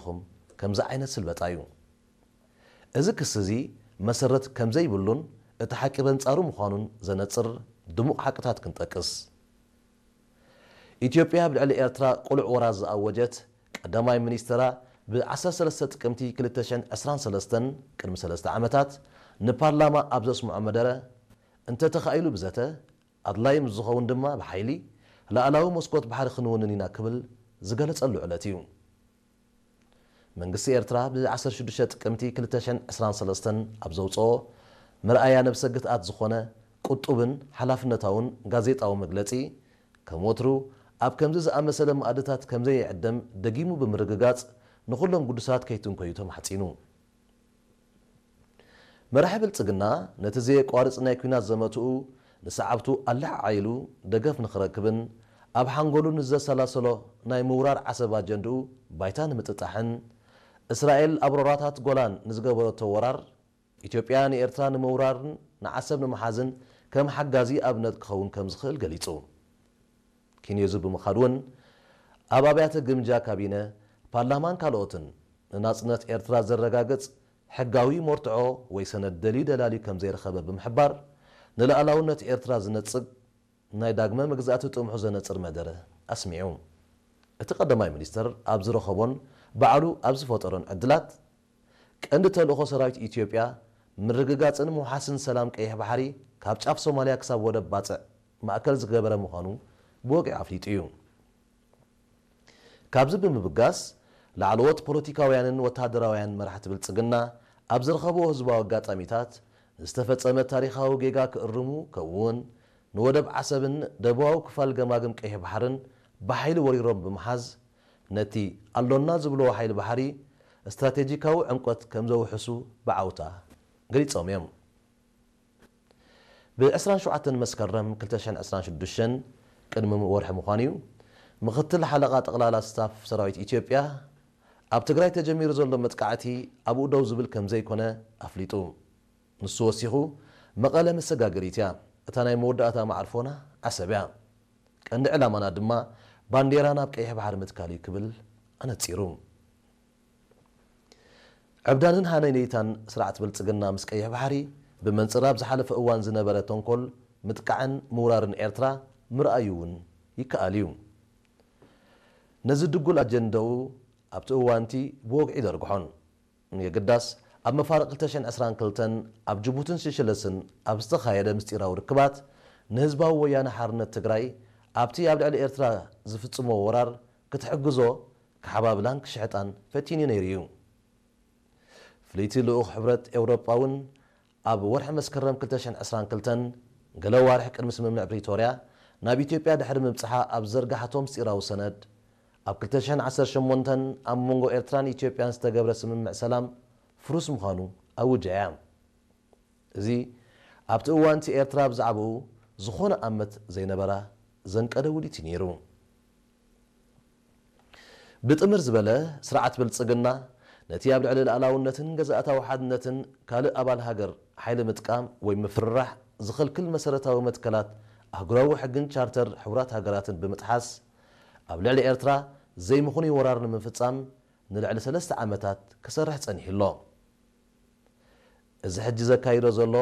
ኢኹም ከምዚ ዓይነት ስልበጣ እዩ። እዚ ክሲ እዚ መሰረት ከምዘይብሉን እቲ ሓቂ በንጻሩ ምዃኑን ዘነጽር ድሙቕ ሓቅታት ክንጠቅስ። ኢትዮጵያ ኣብ ልዕሊ ኤርትራ ቅሉዕ ወራር ዝኣወጀት ቀዳማይ ሚኒስትራ ብ ዓሰርተ ሰለስተ ጥቅምቲ ክልተ ሽሕን ዕስራን ሰለስተን ቅድሚ ሰለስተ ዓመታት ንፓርላማ ኣብ ዘስምዖ መደረ፣ እንተ ተኻኢሉ ብዘተ፣ ኣድላይ ምስ ዝኸውን ድማ ብሓይሊ፣ ላዕላዊ መስኮት ባሕሪ ክንውንን ኢና ክብል ዝገለጸሉ ዕለት እዩ። መንግስቲ ኤርትራ ብ ዓሰርተ ሽዱሽተ ጥቅምቲ ክልተ ሽሕን ዕስራን ሰለስተን ኣብ ዘውጽኦ መርኣያ ነብሰ ግትኣት ዝኾነ ቁጡብን ሓላፍነታውን ጋዜጣዊ መግለጺ፣ ከም ወትሩ ኣብ ከምዚ ዝኣመሰለ መኣድታት ከምዘይዕደም ደጊሙ ብምርግጋጽ፣ ንኹሎም ግዱሳት ከይትንኮዩ ተማሕጺኑ። መራሒ ብልጽግና ነቲ ዘየቋርጽ ናይ ኲናት ዘመትኡ ንሰዓብቱ ኣለዓዒሉ ደገፍ ንኽረክብን ኣብ ሓንጎሉ ንዘሰላሰሎ ናይ ምውራር ዓሰብ ኣጀንድኡ ባይታ ንምጥጣሕን፣ እስራኤል ኣብ ሮራታት ጎላን ንዝገበረቶ ወራር፣ ኢትዮጵያ ንኤርትራ ንምውራርን ንዓሰብ ንምሓዝን ከም ሓጋዚ ኣብነት ክኸውን ከም ዝኽእል ገሊጹ። ኪንዮዙ ብምኻድ እውን ኣብ ኣብያተ ግምጃ ካቢነ፣ ፓርላማን ካልኦትን ንናጽነት ኤርትራ ዘረጋግጽ ሕጋዊ መርትዖ ወይ ሰነድ ደልዩ ደላልዩ ከም ዘይረኸበ ብምሕባር፣ ንልኣላውነት ኤርትራ ዝነጽግ ናይ ዳግመ መግዛእቲ ጥምሑ ዘነጽር መደረ ኣስሚዑ። እቲ ቀዳማይ ሚኒስተር ኣብ ዝረኸቦን ባዕሉ ኣብ ዝፈጠሮን ዕድላት፣ ቀንዲ ተልእኾ ሰራዊት ኢትዮጵያ ምርግጋጽን ምውሓስን ሰላም ቀይሕ ባሕሪ ካብ ጫፍ ሶማልያ ክሳብ ወደብ ባጽዕ ማእከል ዝገበረ ምዃኑ ብወግዒ ኣፍሊጡ እዩ። ካብዚ ብምብጋስ፣ ላዕለዎት ፖለቲካውያንን ወተሃደራውያን መራሕቲ ብልጽግና ኣብ ዝረኸብዎ ህዝባዊ ኣጋጣሚታት፣ ንዝተፈጸመ ታሪኻዊ ጌጋ ክእርሙ፣ ከምኡ'ውን ንወደብ ዓሰብን ደቡባዊ ክፋል ገማግም ቀይሕ ባሕርን ብሓይሊ ወሪሮም ብምሓዝ፣ ነቲ ኣሎና ዝብልዎ ሓይሊ ባሕሪ ስትራቴጂካዊ ዕምቆት ከም ዘውሕሱ ብዓውታ ገሊጾም እዮም። ብ ዕስራን ሸውዓተን መስከረም ክልተ ሽሕን ዕስራን ሽዱሽተን፣ ቅድሚ ወርሒ ምዃኑ እዩ፣ ምኽትል ሓለቓ ጠቕላላ ስታፍ ሰራዊት ኢትዮጵያ፣ ኣብ ትግራይ ተጀሚሩ ዘሎ መጥቃዕቲ ኣብኡ ደው ዝብል ከም ዘይኮነ ኣፍሊጡ። ንሱ ወሲኹ፣ መቐለ መሰጋገሪት እያ፣ እታ ናይ መወዳእታ መዓርፎና ዓሰብ እያ። ቀንዲ ዕላማና ድማ ባንዴራ ናብ ቀይሕ ባሕሪ ምትካል እዩ ክብል ኣነጺሩ። ዕብዳንን ሃነይነይታን ስርዓት ብልጽግና ምስ ቀይሕ ባሕሪ ብመንጽር ኣብ ዝሓለፈ እዋን ዝነበረ ተንኮል ምጥቃዕን ምውራርን ኤርትራ ምርኣዩ እውን ይከኣል እዩ። ነዚ ድጉል ኣጀንዳኡ ኣብቲ እዋንቲ ብወግዒ ይደርግሖን። የግዳስ ኣብ መፋርቕ ክልተ ሽሕን ዕስራን ክልተን ኣብ ጅቡትን ሲሸለስን ኣብ ዝተኻየደ ምስጢራዊ ርክባት ንህዝባዊ ወያነ ሓርነት ትግራይ ኣብቲ ኣብ ልዕሊ ኤርትራ ዝፍጽሞ ወራር ክትሕግዞ ክሓባብላን ክሽሕጣን ፈቲኑ ነይሩ እዩ። ፍልይቲ ልኡኽ ሕብረት ኤውሮጳ እውን ኣብ ወርሒ መስከረም ክልተ ሽሕን ዕስራን ክልተን ገለ ኣዋርሕ ቅድሚ ስምምዕ ፕሪቶርያ ናብ ኢትዮጵያ ድሕሪ ምብጽሓ ኣብ ዝዘርግሓቶ ምስጢራዊ ሰነድ፣ ኣብ ክልተ ሽሕን ዓሰርተ ሸሞንተን ኣብ መንጎ ኤርትራን ኢትዮጵያን ዝተገብረ ስምምዕ ሰላም ፍሩስ ምዃኑ ኣውጃ እያ። እዚ ኣብቲ እዋንቲ ኤርትራ ብዛዕባኡ ዝኾነ ኣመት ዘይነበራ ዘንቀደ ውዲት እዩ ነይሩ። ብጥምር ዝበለ ስርዓት ብልጽግና ነቲ ኣብ ልዕሊ ልኣላውነትን ገዛእታዊ ሓድነትን ካልእ ኣባል ሃገር ሓይሊ ምጥቃም ወይ ምፍርራሕ ዝኽልክል መሰረታዊ መትከላት ኣህጉራዊ ሕግን ቻርተር ሕቡራት ሃገራትን ብምጥሓስ፣ ኣብ ልዕሊ ኤርትራ ዘይምኽኑይ ወራር ንምፍጻም ንልዕሊ ሰለስተ ዓመታት ክሰርሕ ጸኒሑ ኣሎ። እዚ ሕጂ ዘካይዶ ዘሎ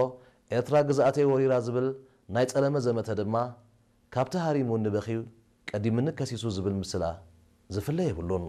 ኤርትራ ግዝኣተይ ወሪራ ዝብል ናይ ጸለመ ዘመተ ድማ፣ ካብቲ ሃሪሙኒ በኽዩ ቀዲሙኒ ከሲሱ ዝብል ምስላ ዝፍለ የብሉን።